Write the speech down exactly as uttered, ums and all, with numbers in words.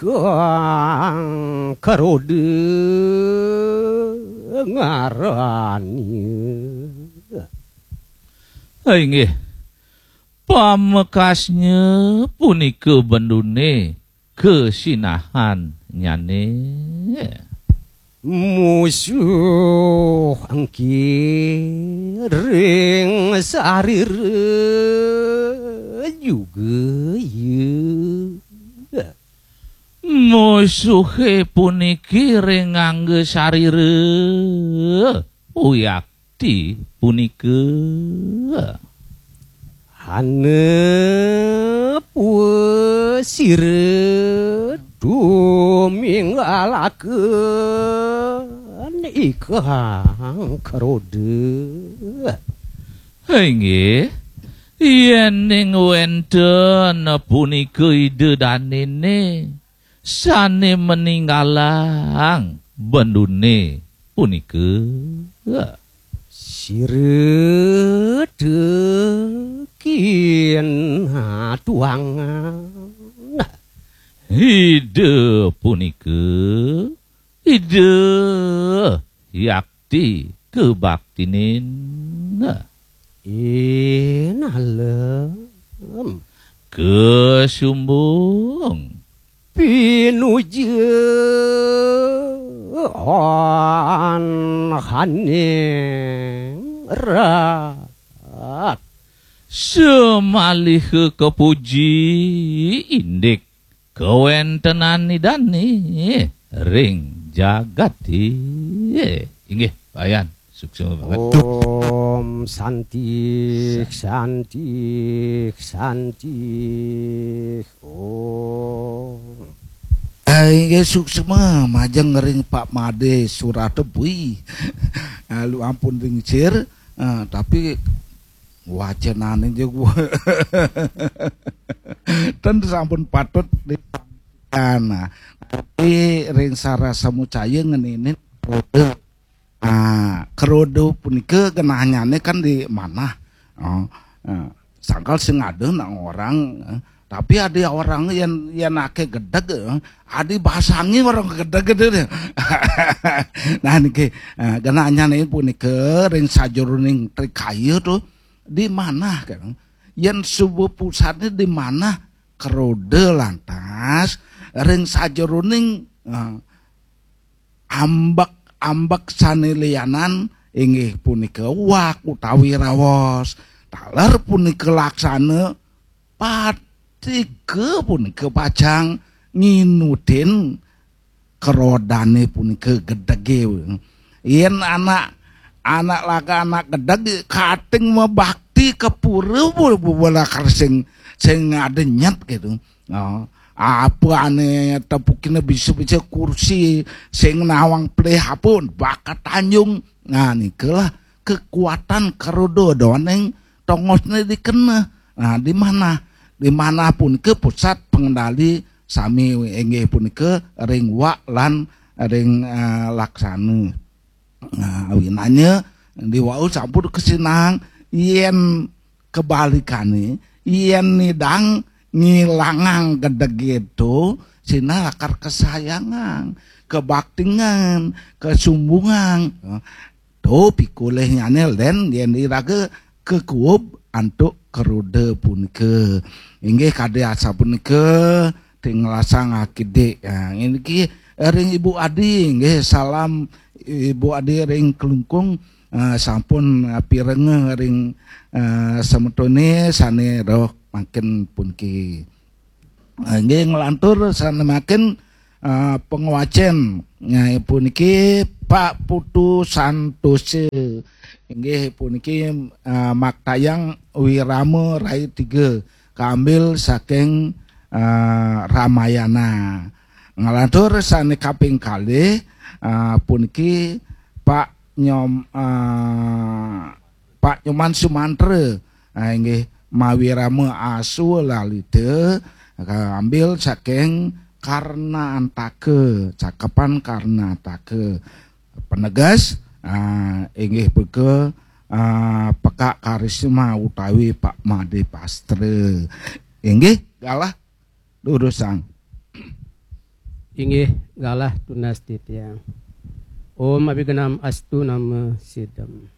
Kang Karoda ngarani. Inggih. Pamekasnya punika bendune kasinahannyane. Musuh engki ring sarira juga ya. Musuhe puniki ring angga sarira. Uyakti punika. Hana puasira duminggalaken ikang Karoda. Inggih, yening wenten punika Ida Danene sane meninggalang bendune punika. Sira tekin tuangan. Ida punika, Ida yakti kebaktinin. Inalem. Kesumbung. Pinuja on haning rat. Semaliha kapuji indik kawentenan Idane ring jagate. Inggih, Pak Yan, suksma banget. Om Santi, Santi, Santi. Om. Eh, inggih suksma majeng ring Pak Made Suratebui. Lalu ampun ring sir, eh, tapi wacenane juga ten sampun patut di-, nah, tapi ring sara samucaya ngeninin Ah, Karoda punika genahnyane kan di manah. Oh, eh, sangkal sing ada nak orang, eh, tapi ada orang yang yang ake gedeg, eh, ada basangi orang gedeg gitu deh. Nah niki, eh, genahnyane punika ring sajeroning trikaya tu di manah kan. Yen suba pusatnya di manah Karoda lantas ring sajeroning, eh, ambek-ambek sane lianan inggih punika uwak utawi raos. Taler punika laksana patiga punika pacang nginudin kerodane punika gedege. Yen anak, anak laka anak gedeg kating mabakti ka pura bu-, bu-, bola kersing sing adenyet gitu. Oh, apa ane tepukine bisa-bisa kursi sing nawang pelih apa bakat tanjung. Nah, nikalah kekuatan Karoda doning tongosne dikena. Nah, di mana? Di mana pun ke pusat pengendali sami inggih punika ring wak lan ring, eh, laksana. Nah, awinannya di wau sampun kesinang yen kebalikane, yen nidang ngilangang gedege to, sinah lakar kesayangang, kebaktingan, kesumbungan. To pikolihnyane len yen iraga kekuub antuk Karoda punika. Inggih kadi asapunika tinglasang akidik. Ha, niki ring Ibu Adi, inggih salam Ibu Adi ring Klungkung, eh, sampun, eh, pirengeh ring, eh, semetone sane roh mangkin puniki. Eh, nggih nglantur sane mangkin, eh, pangwacen. Nah, puniki Pak Putu Santosa. Inggih puniki, eh, maktayang Wirama Rai tiga, kaambil saking, eh, Ramayana. Nglantur sane kaping kalih, eh, puniki Pak Nyom-, eh, Pak Nyoman Sumantra, eh, inggih mawirama Aswa Lalita, eh, ambil saking Karna Antaka, cakepan Karna Antaka. Penegas, eh, inggih punika, eh, Pekak Karisma utawi Pak Made Pastra. Inggih, galah durusang. Inggih galah tunas titiang. Om abigenam astu nama sidam.